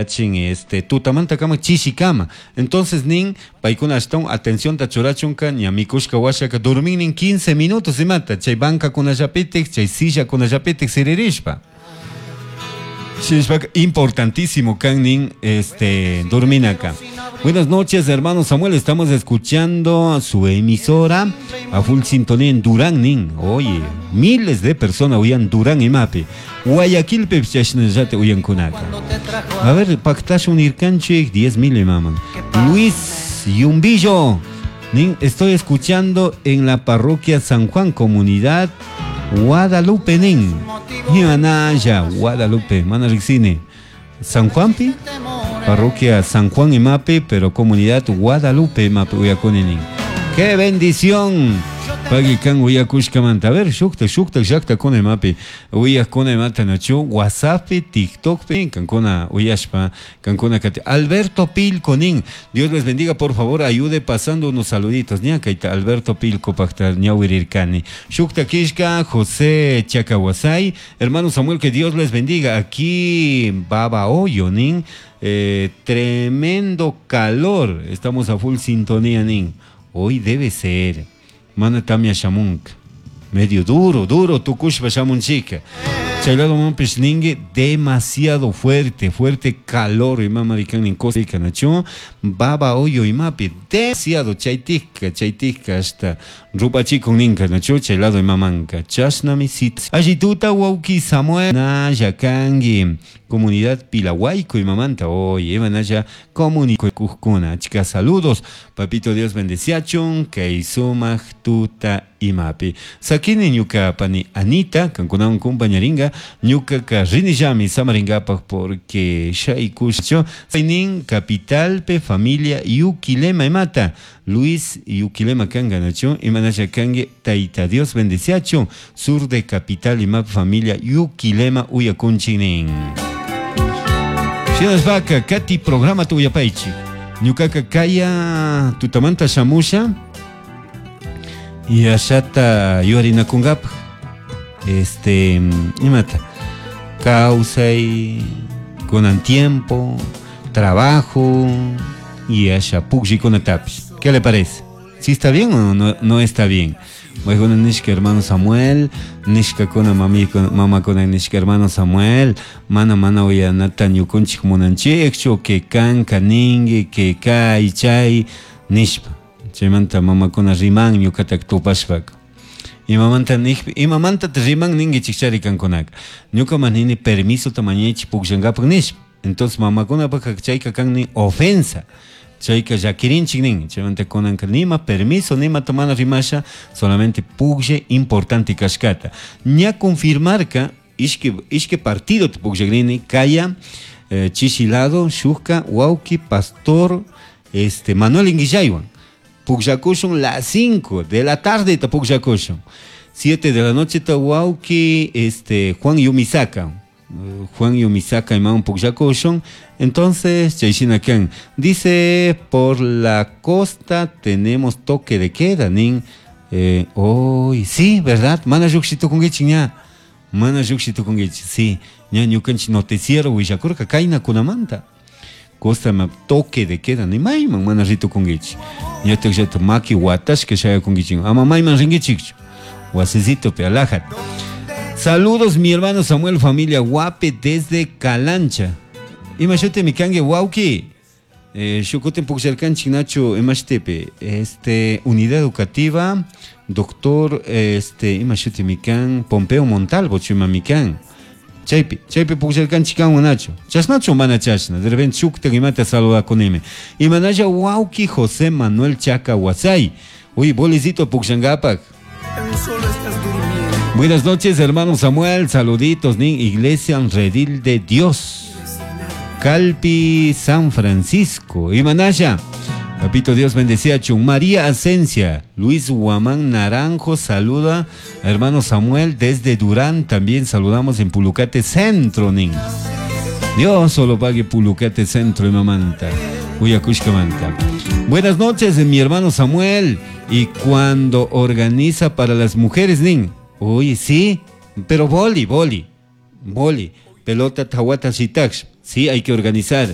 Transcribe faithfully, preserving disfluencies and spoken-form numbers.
Chin este tutamanta kama chishikama. Entonces nin paykuna ashtawan atención ta churachunka ña mikushka washaka dorminin quince minutos imata chay banca kunallapitik chay silla kunallapitik siririshpa. Shinashpaka importantísimo kan nin este dorminaka. Buenas noches, hermano Samuel, estamos escuchando su emisora a full sintonía en Durán nin. Oye, miles de personas uyan Durán imapi. Guayaquil chashnallata uyankunaka. A ver, pactashun nirkanchik diez mil imaman. Luis Yumbillo nin, estoy escuchando en la parroquia San Juan, comunidad Guadalupe nin. Imanaya, Guadalupe, mana riksini. San Juanpi, parroquia San Juan imapi, pero comunidad Guadalupe imapi uyakuni nin. ¡Qué bendición! Pagui kan uyakushkamanta. A ver, shukta, shukta, llakta kuna imapi. Uyakuna imata nachu, WhatsApp, TikTok, kankuna uyashpa, kankuna kati. Alberto Pilco nin. Dios les bendiga, por favor, ayude pasando unos saluditos. Ña kaita Alberto Pilco pakta ñawirirkani. Shukta kishka, José Chacahuasay. Hermano Samuel, que Dios les bendiga. Aquí, Baba Hoyo nin. Eh, tremendo calor. Estamos a full sintonía nin. Hoy debe ser. Mana tamia shamunka. Medio duro, duro, tukushpa shamunchika. Chaylado mampish ningue, demasiado fuerte, fuerte calor. Y mama dikan nin cosa nacho. Baba hoyo y mapi, demasiado chaytika, chaytika hasta rupachikun ninka nacho, chaylado y mamanka. Chasnami sit. Allituta wauki Samuel, naya kangi. Comunidad Pilahuayco y mamanta, oye, manaya comunico cujcuna. Chicas, saludos. Papito Dios bendeciachun, keisumaj tuta imapi. Sakini ñuka pani Anita, kankunawan compañeringa, ñuka karrinillami samaringapaj porque shaykusho. Sainin capitalpe familia Yuquilema imata. Luis Yuquilema kanga nacho, imanaya kangue taita Dios bendeciachun, sur de capital imap familia Yuquilema uyakunchinin. Shinashpaka kati programa tuyapaichi. Ñukaka kaya tutamanta shamusha y ashata yuarinakunkapaj. Este, imata kawsay kunan tiempo, trabajo y asha pukllikunapish. ¿Qué le parece? ¿Sí está bien o no, no está bien? Bueno, nishka hermano Samuel, nishka kuna mami kuna mama kuna nishka hermano Samuel, mana mana uyanata ñukunchik munanchikchu, que kan kaningi, que kay chay nishpa. Chaymanta mama kuna riman ñukatak tupashpaka. Imamanta nishpa, imamanta riman ningi chikchari kankunaka. Ñuka manini permiso tamañichi pukllankapaq nishpa. Entonces mama kuna paka chayka kan ni ofensa. Chayka llakirinchik nin, chaymanta kunanka nima permiso, nima tomana rimasha, solamente puklle importante kashkata. Ña confirmarka, ishki, ishki partido pukllakrini, kaya, eh, chishilado, shukka, wauki, pastor, este, Manuel Inguillaywan. Pukllakushun las cinco de la tarde ta pukllakushun. siete de la noche ta wauki, este, Juan Yumisaka. Juan Yumisaka imaun pukllakushun. Entonces, chayshina kan dice, por la costa tenemos toque de queda, nin. Eh, hoy, sí, ¿verdad? Mana lluqshitukunkichik ña. Mana lluqshitukunkichik, sí. Ña ñukanchik noticiero willakurka kayna kunamanta. Costa ma toque de queda, ni mayman mana ritukunkichik. Ñataq llata maki watashka shayakunkichik. Ama mayman rinkichikchu. Wasisito pe alajat. Saludos mi hermano Samuel, familia Guape desde Calancha. Imashute mi kangue wauki. Eh, shukutin pukllarkanchik nacho imashtepe. Este, unidad educativa, doctor, este, imashute mi kan, Pompeo Montalvo, chuma mi kan. Chaypi, chaypi pukllarkanchik kanwan nacho. Chashnachu mana chashna, de repente shukta imata saludakunimi. Imanaya wauki José Manuel Chaca Huasay. Uy, bolicito pukllangapak. Buenas noches, hermano Samuel. Saluditos, nin. Iglesia Redil de Dios. Calpi, San Francisco. Imanaya. Papito Dios bendecía Chun. María Asencia. Luis Guamán Naranjo saluda a hermano Samuel desde Durán. También saludamos en Pulucate Centro, nin. Dios solo pague Pulucate Centro y mamanta. Uyacushcamanta. Buenas noches, mi hermano Samuel. Y cuando organiza para las mujeres, nin. Oye, sí, pero boli, boli, boli, pelota tawata shitax, Sí, hay que organizar.